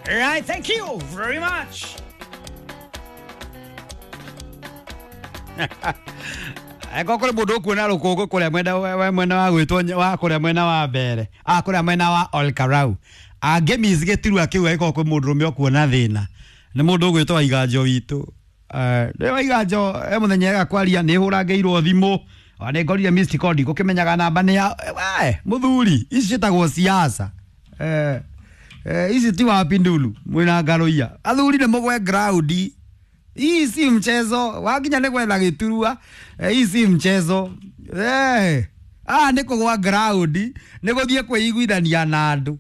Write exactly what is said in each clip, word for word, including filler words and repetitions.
Right, thank you very much. Eko kuri mundu ukuona rukungu kuria mwena we mwena wa gwitwo wa kuria mwena wa mbere a kuria mwena wa Olkarau angemiss gitirua kiu eko kwi mundu rume ukuona thina ni mundu ugwitwo Waiganjo witu. Ni Waiganjo e muthenya ega kwaria ni hurangeirwo thimu ona ni ngorire missed call ndigukimenyaga namba ni ya we muthuri ici ciĩtagwo siasa. Eh eh ici ti wa pindulu mwina ngaroia athuri ni mugwe ground. Hii si mchezo, wakinya ni gwetha giturua. Hii si mchezo. Eh, ah ni kugwa ground, ni guthie kwiguithania na andu.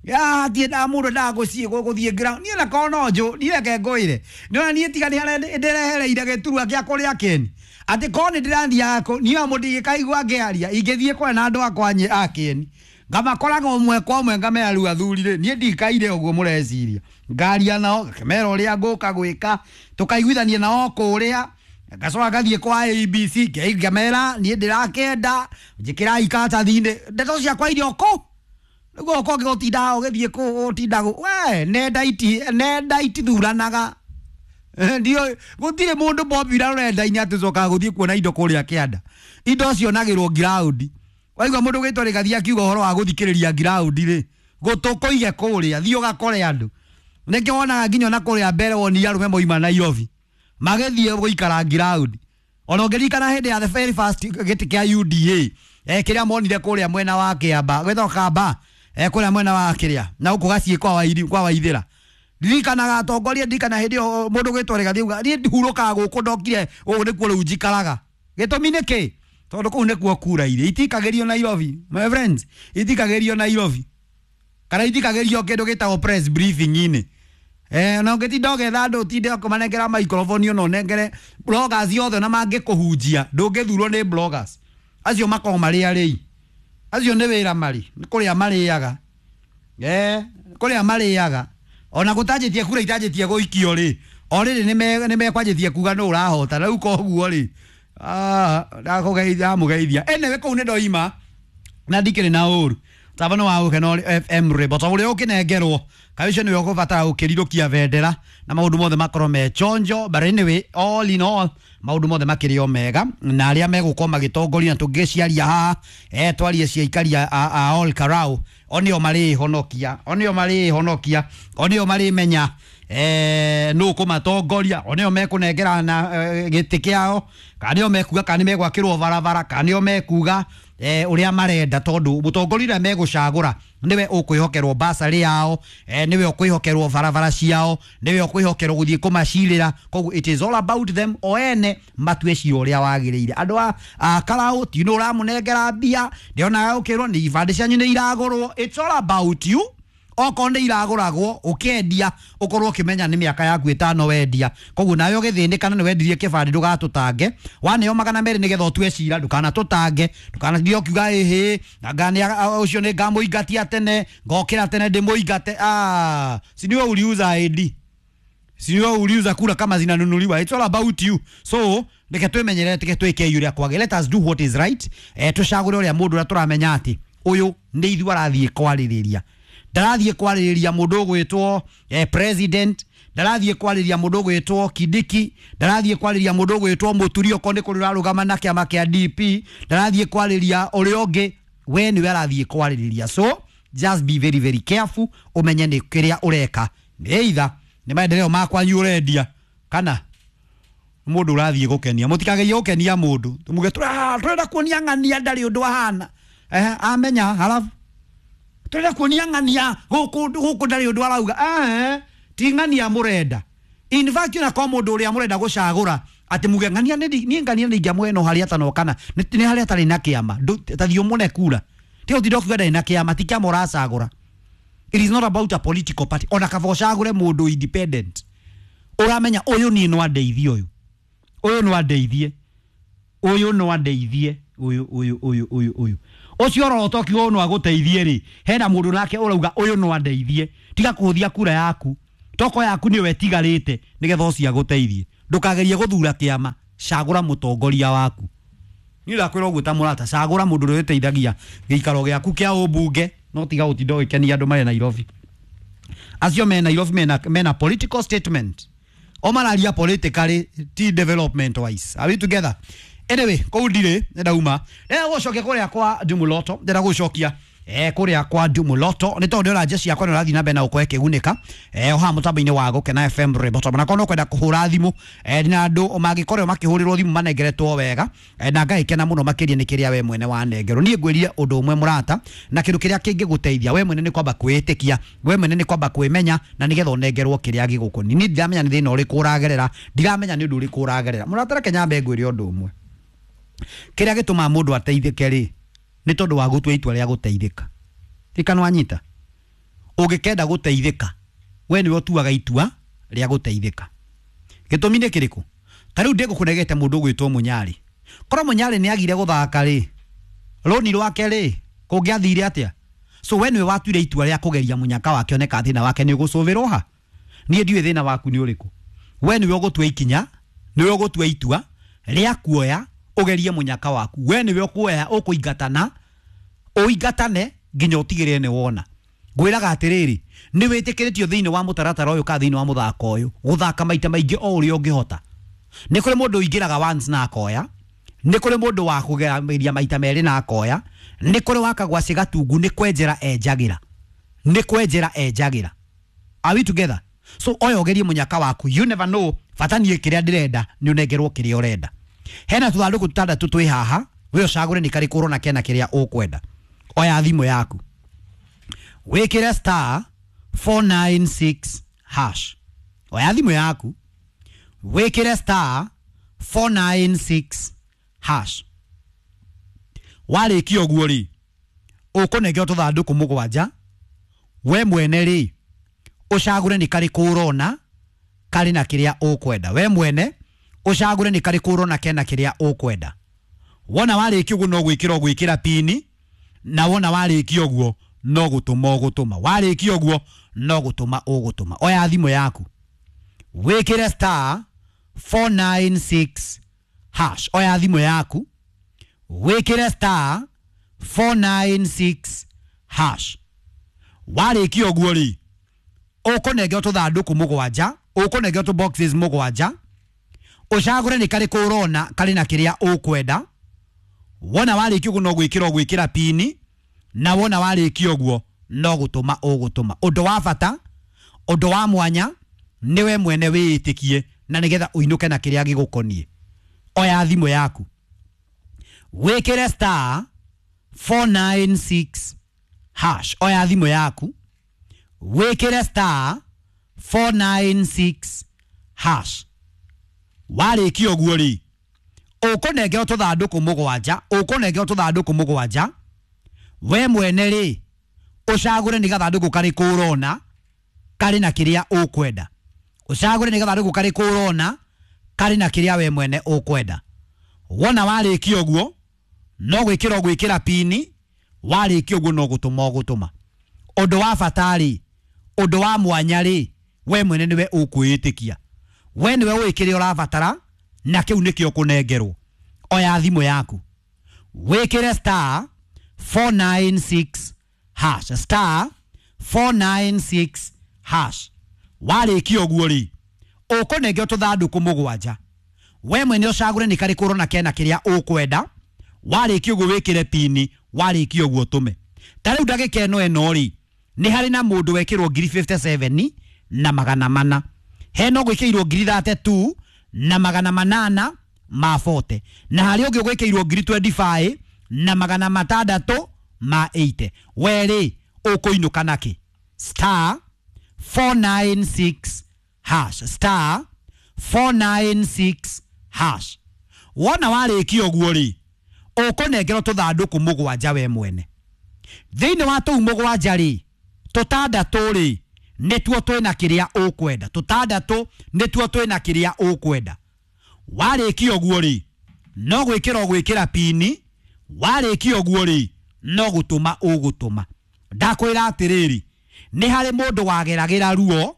Ya tie na mundu nda gucie guthie ground. Nie na kono nju, nie reke ngwire. Ni nie tiga ni haria ndirehereire giturua kia kuria keni. Ati ko ni ndirathiaga ku, nie mundu ingikaigua ngiaria, ingithie kwa na andu akwa a keni. Ngamakoraga ũmwe kwa ũmwe ngamera rĩu athuri rĩ niĩ ndikaire ũguo mũreciria ngaria nao ngakĩmera ũrĩa ngũka gwĩka tũkaiguithania nao kũrĩa ngacoka ngathiĩ kwa A B C ngamera niĩ ndĩrakenda njĩkĩrai karatathi-inĩ ndeto ciakwa irio kũ nĩguo ũkorwo ũgĩgũtinda ũgĩthiĩ kũ ũtinda we nenda iti nenda itithuranaga ndio gũtirĩ mũndũ popular rũrenda-inĩ atĩ ũcokaga gũthiĩ kuona indo kũrĩa kĩanda indo cionagĩrwo ground. Waigua mundu gwitwo Rigathi akiuga uhoro wa guthikiriria ground ri gutukuige kuria thii ugakore andu nikio wonaga nginya na kuria mbere woni arume moima Nairobi magithie guikara ground. Ona ungiririkana hindi ya the very first giti kia U D A eh kiria monire kuria mwena wa Kiamba gwitwo Kamba eh kuria mwena wa kiria na guku gacie kwa wairi kwa Waithira ndirikanaga atongoria ndirikana hindi mundu gwitwo Rigathi auga nie ndihurukaga guku ndokire guku nikuo riu njikaraga gitumi niki tondu kuu nikuo kura ire itikagerio Nairobi my friends itikagerio Nairobi kana itikagerio kindu gitagwo press briefing ini eh na ungitinda ugetha andu utinde ukumanengera microphone ona unengere bloggers othe na mangikuhunjia ndungithurwo ni bloggers acio makoragwo mari arĩi acio ni wira mari ni kuria mariaga eh kuria mariaga ona gutanjitie kura itanjitie guikio ri o riri ni mekwanjitie kuga no urahota riu koguo ri ah ndakugeithia mugeithia anyway kuu ni ndoima na ndikiri na uru tabano wa gukeno F M rwimbo to uria ukinengerwo kawicio niwe ukubatara gukirirukia bendera na maundu mothe makorwo me chonjo. But anyway all in all maundu mothe makiri o mega na aria megukorwo magitongoria na tungiciaria haha eh twarie cia ikaria a, a all karau onio mari honokia onio mari honokia onio mari menya eh no kumatongoria onio mekunengera na eh, giti kiao kana nio mekuga kana megwakirwo barabara kana nio mekuga eh uria marenda tondu mutongoria uria megucagura niwe ukwihokerwo basari yao eh niwe ukwihokerwo barabara ciao niwe ukwihokerwo guthie kumacirira. Koguo it is all about them o ene matue cira uria wagiriire andu a karau ti no uramunengera mbia ndionaga ukirwo ni ibande cianyu ni iragurwo. It's all about you. Okorwo nĩ iragũragwo ũkĩendia ũkorwo ũkĩmenya nĩ mĩaka yaku ĩtano wendia koguo nawe ũgĩthĩnĩka na nĩ wendirie kĩbandĩ ndũgatũtange waneo magana merĩ nĩgetha ũtue cira ndũkanatũtange ndũkanathiĩ ũkiuga ĩhĩ anga nĩ ũcio nĩ ngamũingatia tene ngokĩra tene ndĩmũingate. Ah, si niwe uliuza I D, si niwe uliuza kura kama zinanunuliwa. It's all about you. So reke twĩmenyerere tike twĩke ũrĩa kwagĩrĩire. Let us do what is right. Eh tũcagũre ũrĩa mũndũ ũrĩa tũramenya atĩ ũyũ nĩ ithuĩ arathiĩ kwarĩrĩria ndarathiĩ kwarĩrĩria mũndũ ũgwĩtwo eh, president ndarathiĩ kwarĩrĩria mũndũ ũgwĩtwo Kindiki ndarathiĩ kwarĩrĩria mũndũ ũgwĩtwo Mũturi okorwo nĩ kũrĩ ũrarũgama na kĩama kĩa D P ndarathiĩ kwarĩrĩria ũrĩa ũngĩ we nĩwe arathiĩ kwarĩrĩria. So just be very very careful ũmenye nĩ kĩrĩa ũreka nĩ either nĩ maendeleo makwanyu ũrendia kana mũndũ ũrathiĩ gũkenia. Mũtikagerie gũkenia mũndũ muge tũrenda kuonia ng'ania ndarĩ ũndũ ahana eh amenya halafu turenda kuonia ng'ania guku guku ndari undu arauga eh ti ng'ania murenda. In fact na kwa mundu uria murenda gucagura ati muge ng'ania ni ng'ania ni ingiamwe no haria atano kana ni haria atari na kiama tathi umune kura ti utinda kuga ndari na kiama ti kiama uracagura. It is not about a political party. Ona kaba ucagure mundu independent uramenya uyu ni no andeithie uyu uyu no andeithie uyu no andeithie uyu uyu uyu uyu uyu ucio roto kiugo no aguteithie ri hena mundu nake urauga uyu no andeithie tiga kuhuthia kura yaku toko yaku niwe tigarite nigetha ucio aguteithie ndukagerie guthura kiama cagura mutongoria waku ni ndakwira uguo ta murata cagura mundu uria uteithagia giikaro giaku kia ubunge no tiga gutinda ugikenia andu mari Nairobi. Acio me Nairobi mena, mena political statement o mararia politically ti development wise. Are we together? Anyway, kũu ndirĩ ndauma ndĩrenda gũcokia kũrĩa kwa Ndumuloto, ndĩrenda gũcokia eh kũrĩa kwa Ndumuloto nĩ tondũ ndĩrona jeshi yakwa nĩ ũrathiĩ na mbere na gũkorwo ĩkĩgunĩka eh o haha mũtambo-inĩ wa Gũkena F M Rĩmbo na korwo kwenda kũhũra thimũ eh na andũ mangĩkorwo makĩhũrĩrwo thimũ manengeretwo wega eh, na ngagĩkena mũno makĩria nĩ kĩrĩa we mwene wanengerwo. Niĩ ngwĩrie ũndũ ũmwe mũrata, na kĩndũ kĩrĩa kĩngĩgũteithia we mwene nĩ kwamba kwĩĩtĩkia, we mwene nĩ kwamba kwĩmenya, na nĩgetha ũnengerwo kĩrĩa gĩgũkoniĩ. Niĩ ndiramenya nĩ thĩna ũrĩkũ ũragerera, ndiramenya nĩ ũndũ ũrĩkũ ũragerera mũrata. Reke nyambe ngwĩre ũndũ ũmwe, kĩrĩa gĩtũmaga mũndũ ateithĩke rĩ nĩ tondũ wa gũtua itua rĩa gũteithĩka. Ririkana wanyita, ũngĩkenda gũteithĩka we nĩwe ũtuaga itua rĩa gũteithĩka. Gĩtũmi nĩ kĩrĩkũ? Ta rĩu ndĩgũkũnegete mũndũ ũgwĩtwo Mũnyarĩ, korwo Mũnyarĩ nĩ agire gũthaka rĩ, rũni rwake rĩ kũngĩathire atĩa? So we nĩwe watuire itua rĩa kũgeria mũnyaka wake one kana thĩna wake nĩ ũgũcũvĩrwo ha. Niĩ ndiũĩ thĩna waku nĩ ũrĩkũ, we nĩwe ũgũtua ikinya, nĩwe ũgũtua itua rĩa kuoya ũgerie mũnyaka waku. We nĩwe ũkuoya ũkũingatana, ũingatane nginya ũtigĩrĩre nĩ wona. Ngwĩraga atĩrĩrĩ, nĩ wĩtĩkĩrĩtio thĩinĩ wa mũtaratara ũyũ kana thĩinĩ wa mũthako ũyũ gũthaka maita maingĩ o ũrĩa ũngĩhota. Nĩ kũrĩ mũndũ ũingĩraga once na akoya, nĩ kũrĩ mũndũ wa kũgeria maita merĩ na akoya, nĩ kũrĩ wakagwacĩ gatungu, nĩ kwenjera enjagĩra, nĩ kwenjera enjagĩra. Are we together? So oya ũgerie mũnyaka waku, you never know, bata niĩ kĩrĩa ndĩrenda nĩ ũnengerwo kĩrĩa ũrenda. Hena tũthandũkũ tũtandatũ twĩ haha, we ũcagũre nĩ karĩkũ ũrona kena kĩrĩa ũkwenda. Oya thimũ yaku wĩkĩre star four nine six hash. Oya thimũ yaku wĩkĩre star four nine six hash. Warĩkia ũguo rĩ, ũkũnengerwo tũthandũkũ mũgwanja, we mwene rĩ ũcagũre nĩ karĩkũ ũrona karĩ na kĩrĩa ũkwenda. We mwene ũcagũre nĩ karĩkũ ũrona kena kĩrĩa ũkwenda. Wona warĩkia ũguo no gwĩkĩra ũgwĩkĩra pini, na wona warĩkia ũguo no gũtũma ũgũtũma. Warĩkia ũguo no gũtũma ũgũtũma. Oya thimũ yaku wĩkĩre star four nine six hash. Oya thimũ yaku wĩkĩre star four nine six hash. Warĩkia ũguo rĩ, ũkũnengerwo tũthandũkũ mũgwanja, ũkũnengerwo tũ boxes mũgwanja, ũcagũre nĩ karĩkũ ũrona karĩ na kĩrĩa ũkwenda. Wona warĩkia ũguo no gwĩkĩra ũgwĩkĩra pini, na wona warĩkia ũguo no gũtũma ũgũtũma. Ũndũ wa bata, ũndũ wa mwanya, nĩwe mwene wĩĩtĩkie na nĩgetha ũinũke na kĩrĩa gĩgũkoniĩ. Oya thimũ yaku wĩkĩre star four nine six hash. Oya thimũ yaku wĩkĩre star four nine six hash. Warĩkia ũguo rĩ, ũkũnengerwo tũthandũkũ mũgwanja, ũkũnengerwo tũthandũkũ mũgwanja, we mwene rĩ ũcagũre nĩ gathandũkũ karĩkũ ũrona karĩ na kĩrĩa ũkwenda. Ũcagũre nĩ gathandũkũ karĩkũ ũrona karĩ na kĩrĩa we mwene ũkwenda. Wona warĩkia ũguo no gwĩkĩra ũgwĩkĩra pini, warĩkia ũguo no gũtũma ũgũtũma. Ũndũ wa bata rĩ, ũndũ wa mwanya rĩ, we mwene nĩwe ũkwĩĩtĩkia, we nĩwe ũĩ kĩrĩa ũrabatara na kĩu nĩkĩo ũkũnengerwo. Oya thimũ yaku wĩkĩre star four nine six hash, star four nine six hash. Warĩkia ũguo rĩ, ũkũnengerwo tũthandũkũ mũgwanja, we mwene ũcagũre nĩ karĩkũ ũrona kena kĩrĩa ũkwenda. Warĩkia ũguo wĩkĩre pini, warĩkia ũguo ũtũme. Ta rĩu ndagĩka ĩno ĩno rĩ, nĩ harĩ na mũndũ wekĩrwo ngiri fifty seven na magana mana, hena ũgwĩkĩirwo ngiri thirty two na magana manana ma forty, na harĩ ũngĩ ũgwĩkĩirwo ngiri twenty five na magana matandatũ ma eighty. We rĩ ũkũinũka nakĩ? Star four nine six hash, star four nine six hash. Wona warĩkia ũguo rĩ, ũkũnengerwo tũthandũkũ mũgwanja we mwene. Thĩinĩ wa tũu mũgwanja rĩ, tũtandatũ rĩ nĩtuo twĩna kĩrĩa ũkwenda, tũtandatũ nĩtuo twĩna kĩrĩa ũkwenda. Warĩkia ũguo rĩ, no gwĩkĩra ũgwĩkĩra pini, warĩkia ũguo rĩ no gũtũma ũgũtũma. Ndakwĩra atĩrĩrĩ, nĩ harĩ mũndũ wageragĩra ruo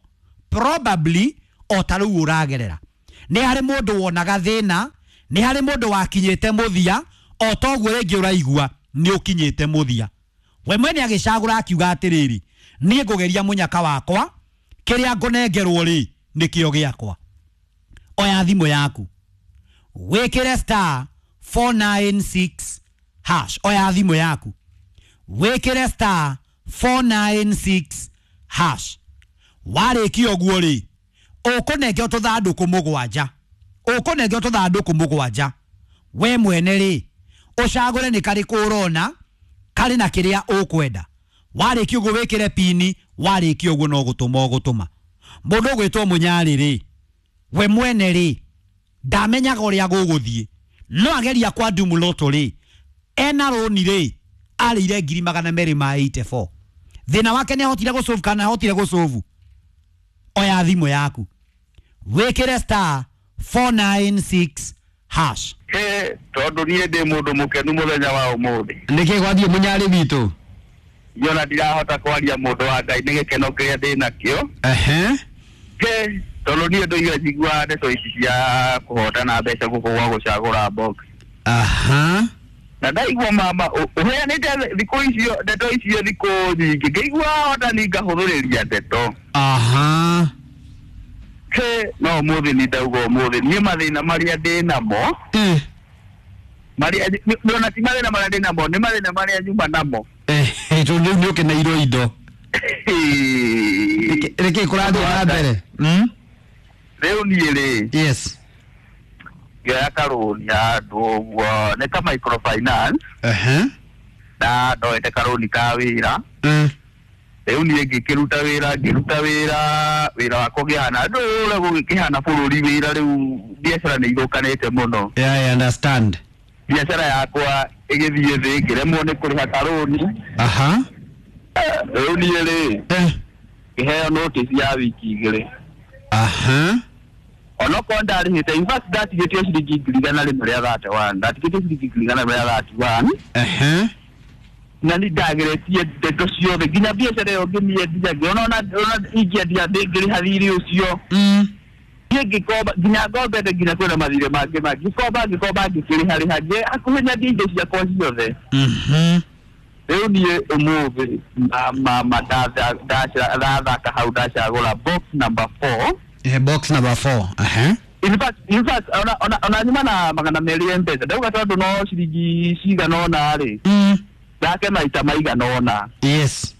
probably o ta rĩu ũragerera, nĩ harĩ mũndũ wonaga thĩna, nĩ harĩ mũndũ wakinyĩte mũthia o toguo rĩngĩ ũraigua nĩ ũkinyĩte mũthia. We mwene agĩcagũra akiuga atĩrĩrĩ, niĩ ngũgeria mũnyaka wakwa Kĩrĩa ngũnengerwo rĩ nĩkĩo gĩakwa. Oya thimũ yaku wĩkĩre star four nine six hash. Oya thimũ yaku wĩkĩre star four nine six hash. Warĩkia ũguo rĩ ũkũnengeo tũthandũkũ mũgwanja, ũkũnengeo tũthandũkũ mũgwanja. We mwene rĩ ũcagũre nĩ karĩkũ ũrona karĩ na kĩrĩa ũkwenda. Warĩkia ũguo wĩkĩre pini, warĩkia ũguo no gũtũma ũgũtũma. Mũndũ ũgwĩtwo Mũnyarĩ rĩ we mwene rĩ ndamenyaga ũrĩa gũgũthiĩ, no ageria kwa Ndumuloto rĩ ena rũni rĩ arĩire ngiri magana merĩ ma eighty four. Thĩna wake nĩ ahotire gũcũbu kana ahotire gũcũbu. Oya thimũ yaku wĩkĩre star four nine six hash. Ĩ tondũ niĩ ndĩ mũndũ mũkenu mũthenya wa ũmũthĩ. Nĩkĩ gwathiĩ Mũnyarĩ witũ? Niona ndirahota kwaria mũndũ wa Ngai nĩ gĩkeno kĩrĩa ndĩ nakĩo. Ehe. Ĩ tondũ niĩ ndũire njiguaga ndeto ici cia kũhotana mbeca gũkũ gwa gũcagũra box. Aha. Na ndaigua mama ũheanĩte thikũ icio ndeto icio thikũ nyingĩ ngĩigua hotani ngahũthũrĩria ndeto. Aha. Ĩ no ũmũthĩ nĩ ndauga ũmũthĩ niĩ mathĩna marĩa ndĩ namo Eh. marĩa ona ti mathĩna marĩa ndĩ namo nĩ mathĩna marĩa nyuma namo. Eh, tondũ rĩu nĩ ũkeneirwo indo. Nĩkĩ kũrathiĩ na mbere? Mm? Rĩu niĩ rĩ Yes. ngĩoya karũni handũ ũguo nĩ ka microfinance. Ehe. Na ndoete karũni ka wĩra. Mm. Rĩu niĩ ngĩkĩruta wĩra ngĩruta wĩra wĩra wakwa ũkĩhana ndũra gũgĩkĩhana bũrũri wĩra rĩu biacara nĩ ithũkanĩte mũno. Yeah, I understand. Biacara yakwa ĩgĩthiĩ thĩ ngĩremwo nĩ kũrĩha karũni. Aha. Rĩu niĩ rĩ Eh. ngĩheo notice ya wiki igĩrĩ. Aha. Onokorwo ndarĩhĩte in fact ndatigĩtio ciringi ngiri igana rĩmwe rĩa thirty one ndatigĩtio ciringi ngiri igana rĩmwe rĩa thirty one. Ehe. Na nĩ ndageretie ndeto ciothe nginya biacara ĩyo ngĩmĩendia ngĩona ona ona ingĩendia ndĩngĩrĩha thirĩ ũcio. Mm. Niĩ ngĩkomba nginya ngombete nginya kwĩna mathirĩ mangĩ mangĩ ngĩkomba ngĩkomba ngĩkĩrĩha rĩha ngĩ hakuhĩ nyendie indo ciakwa ciothe. Mhm. Rĩu niĩ ũmũthĩ mama ndathaka hau ndacagũra box number four. Eh, box number four. Ehe. In fact, in fact, ona ona ona nyuma na magana merĩ M-Pesa ndauga tondũ no ciringi cigana ũna rĩ Mm. ndake maita maigana ũna. Yes.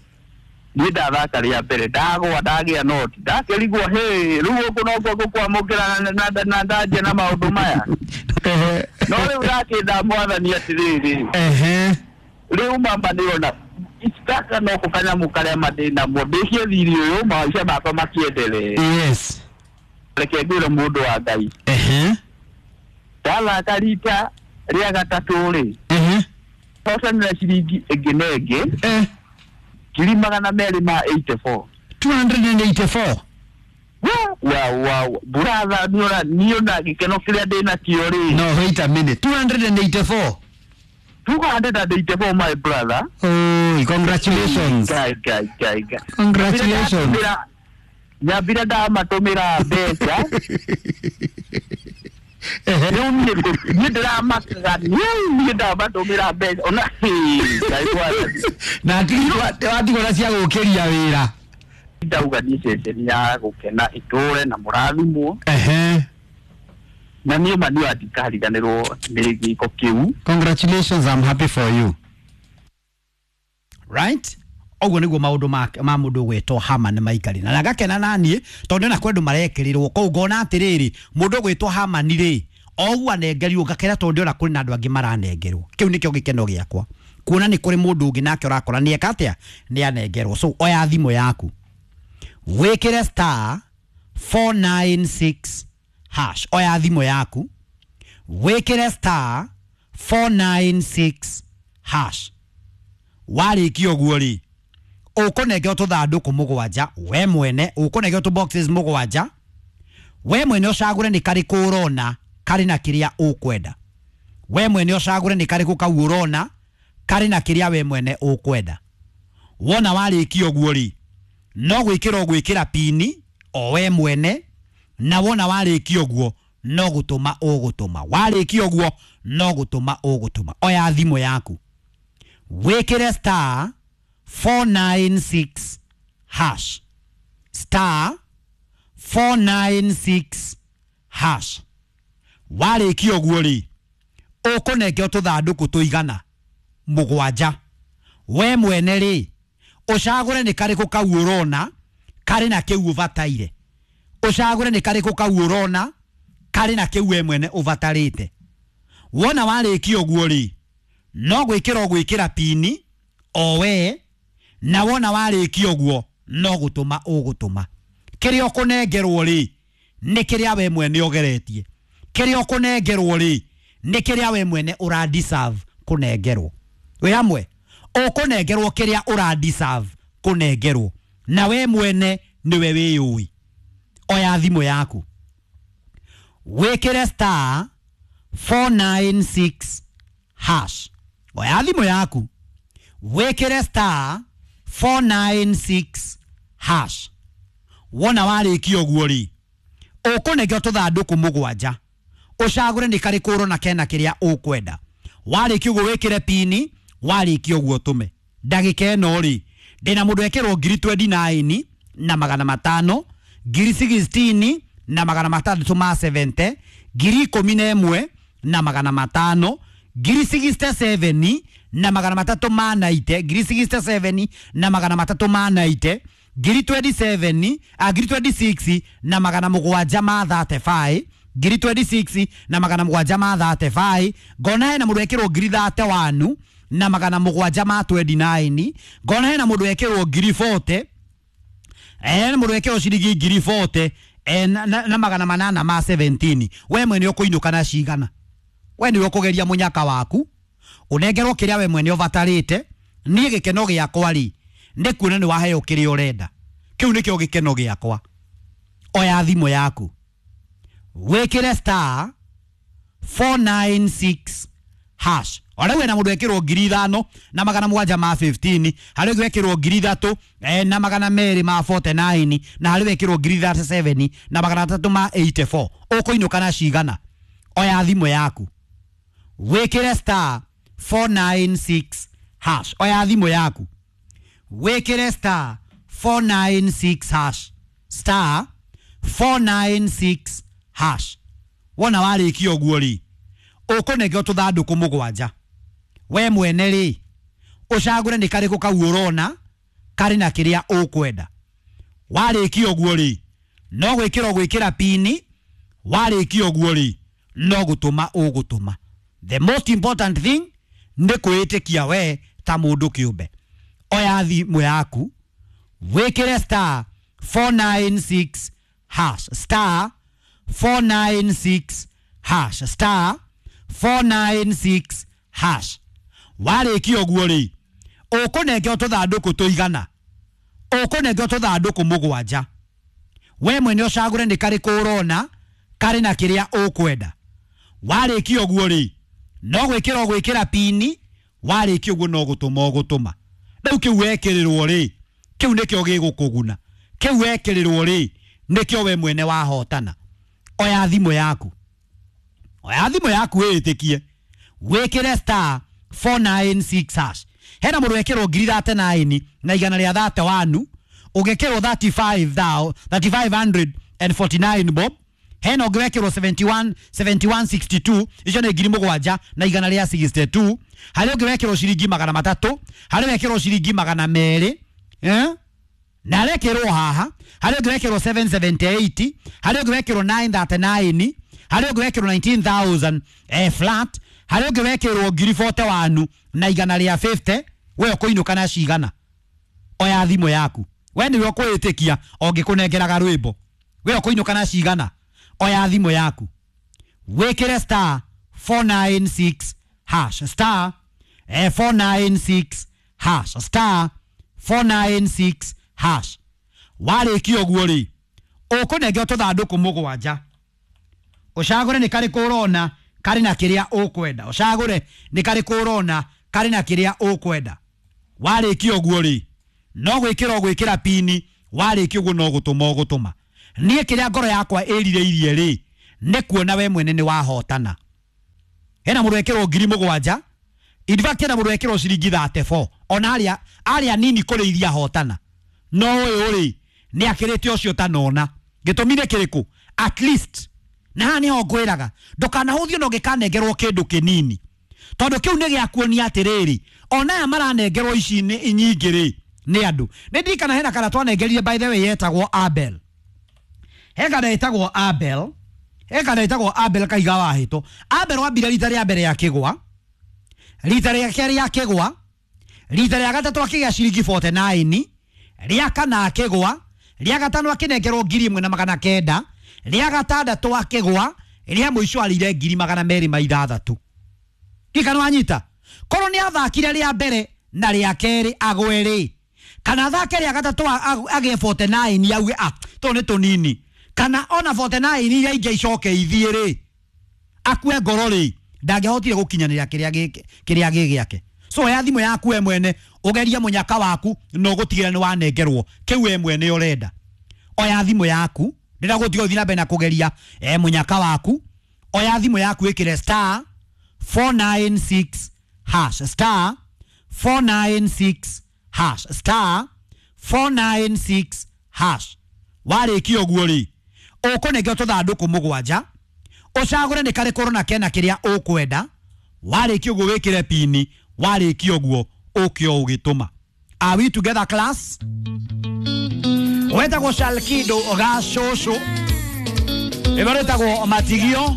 Niĩ ndathaka rĩa mbere ndagwa ndagĩa noti ndakĩrigwo hĩ rĩu gũkũ nokuo ngũkwamũkĩra na na ndanjia na maũndũ maya. No rĩu ndakĩnda mwathani atĩrĩrĩ. Ehe. Rĩu mama nĩona gaka no kanyamũ karĩa ma ndĩ namo ndĩkie thirĩ ũyũ maica makwa makĩendelee. Yes. Reke ngwĩre mũndũ wa Ngai. Ehe. Ndathaka rita rĩa gatatũ rĩ. Ehe. Hotanĩra ciringi ĩngĩ na ĩngĩ. Eh. Ngiri magana merĩ ma eighty four. two hundred and eighty four. Wa wa brother niona niona gĩkeno kĩrĩa ndĩ nakĩo rĩ. No, wait a minute. two hundred and eighty four. two hundred and eighty four my brother. Oh, congratulations. Guy, guy, guy, guy. Congratulations. Nyambire ndamatũmĩra mbeca. Rĩu niĩ niĩ ndĩramakaga niĩ ndamatũmĩra mbeca ona Ngai mwathani. Na watigwo na cia gũkĩria wĩra. Ndauga niĩ ceceni ya gũkena ĩtũre na mũrathimwo. Ehe. Na niĩ ma niĩ ndikariganĩrwo nĩ gĩko kĩu. Congratulations, I'm happy for you. Right? Ũguo nĩguo maũndũ ma ma mũndũ ũgwĩtwo Haman maikari. Na ngakena naniĩ tondũ na kwendũ marekĩrĩrwo kũu ngona atĩrĩrĩ mũndũ ũgwĩtwo Haman rĩ oguo anengerirwo ngakena tondũ ndĩrona kũrĩ na andũ angĩ maranengerwo. Kĩu nĩkĩo gĩkeno gĩakwa. Kuona nĩ kũrĩ mũndũ ũngĩ nake ũrakora nĩ eka atĩa nĩ anengerwo. So oya thimũ yaku wĩkĩre star four nine six hash. Oya thimũ yaku wĩkĩre star four nine six hash. Warĩkia ũguo rĩ ũkũnengeo tũthandũkũ mũgwanja we mwene, ũkũnengeo tũ boxes mũgwanja we mwene ũcagũre nĩ karĩkũ ũrona karĩ na kĩrĩa ũkwenda. We mwene ũcagũre nĩ karĩkũ kau ũrona karĩ na kĩrĩa we mwene ũkwenda. Wona warĩkia ũguo rĩ no gwĩkĩra ũgwĩkĩra pini o we mwene, na wona warĩkia ũguo no gũtũma ũgũtũma. Warĩkia ũguo no gũtũma ũgũtũma. Oya thimũ yaku wĩkĩre star four nine six hash. Star star four nine six hash. Warĩkia ũguo rĩ, ũkũnengeo tũthandũkũ tũigana mũgwanja. We mwene rĩ, ũcagũre nĩ karĩkũ kau ũrona karĩ na kĩu ũbataire. Ũcagũre nĩ karĩkũ kau ũrona karĩ na kĩu we mwene ũbatarĩte. Wona warĩkia ũguo rĩ, no gwĩkĩra ũgwĩkĩra pini o we, na wona warĩkia ũguo no gũtũma ũgũtũma. Kĩrĩa ũkũnengerwo rĩ, nĩ kĩrĩa we mwene ũgeretie. Kĩrĩa ũkũnengerwo rĩ, nĩ kĩrĩa we mwene ũra deserve kũnengerwo. Wĩ hamwe, ũkũnengerwo kĩrĩa ũra deserve kũnengerwo, na we mwene nĩwe wĩyũĩ. Oya thimũ yaku, wĩkĩre star four nine six hash. Oya thimũ yaku, wĩkĩre star four nine six hash. Wona warĩkia ũguo rĩ, ũkũnengeo tũthandũkũ mũgwanja. Ũcagũre nĩ karĩkũ ũrona kena kĩrĩa ũkwenda. Warĩkia ũguo wĩkĩre pini, warĩkia ũguo ũtũme. Ndagĩka ĩno rĩ, ndĩna mũndũ ekĩrwo ngiri twenty nine na magana matano, ngiri sixteen na magana matandatũ ma seventy, ngiri ikũmi na ĩmwe na magana matano, ngiri sixty seven na magana matatũ ma ninety, ngiri sixty seven na magana matatũ ma ninety, ngiri twenty seven, ah, ngiri twenty six na magana mũgwanja ma thirty five, ngiri twenty six na magana mũgwanja ma thirty five. Ngona hena mũndũ ekĩrwo ngiri thirty one na magana mũgwanja ma twenty nine. Ngona hena mũndũ ekĩrwo ngiri forty, eh, mũndũ ekĩrwo ciringi ngiri forty, eh, na, na, na magana manana ma seventeen. We mwene ũkũinũka na cigana? We nĩwe ũkũgeria mũnyaka waku, ũnengerwo kĩrĩa we mwene ũbatarĩte. Niĩ gĩkeno gĩakwa rĩ, nĩ kuona nĩ waheo kĩrĩa ũrenda. Kĩu nĩkĩo gĩkeno gĩakwa. Oya thimũ yaku, wĩkĩre star four nine six hash. Ona wena mũndũ ekĩrwo ngiri ithano na magana mũgwanja ma fifteen, harĩ ũngĩ wekĩrwo ngiri ithatũ, eh, na magana merĩ ma forty nine, na harĩ wekĩrwo ngiri thirty seven na magana matatũ ma eighty four. Ũkũinũka na cigana? Oya thimũ yaku, wĩkĩre star four nine six hash. Oya thimũ yaku, wĩkĩre star four nine six hash. Star four nine six hash. Wona warĩkia ũguo rĩ, ũkũnengeo tũthandũkũ mũgwanja. We mwene rĩ, ũcagũre nĩ karĩkũ kau ũrona karĩ na kĩrĩa ũkwenda. Warĩkia ũguo rĩ, no gwĩkĩra ũgwĩkĩra pini. Warĩkia ũguo rĩ, no gũtũma ũgũtũma. The most important thing nĩ kwĩĩtĩkia we ta mũndũ kĩũmbe. Oya thimũ yaku, wĩkĩre star four nine six hash. Star four nine six hash. Star four nine six hash. Warĩkia ũguo rĩ, ũkũnengeo tũthandũkũ tũigana? Ũkũnengeo tũthandũkũ mũgwanja. We mwene ũcagũre nĩ karĩkũ ũrona karĩ na kĩrĩa ũkwenda. Warĩkia ũguo rĩ, no gwĩkĩra ũgwĩkĩra pini. Warĩkia ũguo no gũtũma ũgũtũma. Rĩu kĩu wekĩrĩrwo rĩ, kĩu nĩkĩo gĩgũkũguna. Kĩu wekĩrĩrwo rĩ, nĩkĩo we mwene wahotana. Oya thimũ yaku, oya thimũ yaku wĩĩtĩkie, wĩkĩre star four nine six hash. Hena mũndũ wekĩrwo ngiri thirty nine na igana rĩa thirty one, ũgekĩrwo thirty five thou, thirty five hundred and forty nine bob. Hena ũngĩ wekĩrwo seventy one, seventy one sixty two, icio nĩ ngiri mũgwanja na igana rĩa sixty two. Harĩ ũngĩ wekĩrwo ciringi magana matatũ, harĩ wekĩrwo ciringi magana merĩ, eh? Na arekĩrwo haha, harĩ ũngĩ wekĩrwo seven seventy eight, harĩ ũngĩ wekĩrwo nine thirty nine, harĩ ũngĩ wekĩrwo nineteen thousand, eh, flat, harĩ ũngĩ wekĩrwo ngiri forty one na igana rĩa fifty. We ũkũinũka na cigana? Oya thimũ yaku, we nĩwe ũkwĩĩtĩkia ũngĩkũnengeraga rwĩmbo. We ũkũinũka na cigana? Oya thimũ yaku, wĩkĩre star four nine six hash. Star, eh, four nine six hash. Star four nine six hash. Warĩkia ũguo rĩ, ũkũnengeo tũthandũkũ mũgwanja. Ũcagũre nĩ karĩkũ ũrona karĩ na kĩrĩa ũkwenda. Ũcagũre nĩ karĩkũ ũrona karĩ na kĩrĩa ũkwenda. Warĩkia ũguo rĩ, no gwĩkĩra ũgwĩkĩra pini. Warĩkia ũguo no gũtũma ũgũtũma. Niĩ kĩrĩa ngoro yakwa ĩrirĩirie rĩ, nĩ kuona we mwene nĩ wahotana. Hena mũndũ wekĩrwo ngiri mũgwanja, in fact hena mũndũ wekĩrwo ciringi thirty four, ona arĩa arĩa nini kũrĩ iria hotana. No ũyũ rĩ, Nĩ akĩrĩte ũcio tanona. Gĩtũmi nĩ kĩrĩkũ? At least na haha nĩho ngwĩraga ndũkanahũthio na ũngĩkanengerwo kĩndũ kĩnini, tondũ kĩu nĩ gĩa kuonia atĩrĩrĩ, ona aya maranengerwo ici nĩ nyingĩ rĩ nĩ andũ. Nĩ ndirikana hena kana twanengerire, by the way, yetagwo Abel. He kana ĩtagwo Abel, he kana ĩtagwo Abel Kaiga wa Hĩtũ. Abel wambire rita rĩa mbere akĩgwa, rita rĩa kerĩ akĩgwa, rita rĩa gatatũ akĩgĩa ciringi mĩrongo ĩna na kenda, rĩa kana akĩgwa, rĩa gatano akĩnengerwo ngiri ĩmwe na magana kenda, rĩa gatandatũ akĩgwa, rĩa mũico arĩire ngiri magana merĩ ma ithathatũ. Kikano wanyita korwo nĩ athakire rĩa mbere na rĩa kerĩ agwe rĩ, kana athake rĩa gatatũ agĩe mĩrongo ĩna na kenda, auge ah tũũ nĩ tũnini, kana ona mĩrongo ĩna na kenda iria ingĩ icoke ithiĩ rĩ, akue ngoro rĩ, ndangĩahotire gũkinyanĩra kĩrĩa gĩ- kĩrĩa gĩ gĩake. So oya thimũ yaku we mwene, ũgerie mũnyaka waku na ũgũtigĩra nĩ wanengerwo kĩu we mwene ũrenda. Oya thimũ yaku, ndĩrenda gũtiga ũthiĩ na mbere na kũgeria e mũnyaka waku. Oya thimũ yaku, ĩkĩre star four nine six hash, star four nine six hash, star four nine six hash. Warĩkia ũguo rĩ, ũkũnengerwo tũthandũkũ mũgwanja, ũcagũre nĩ karĩkũ ũrona kena kĩrĩa ũkwenda. Warĩkia ũguo wĩkĩre pini. Warĩkia ũguo ũke o ũgĩtũma. Are we together, class? Wetagwo Shalkido Gacũcũ, ĩno rĩtagwo Matigio.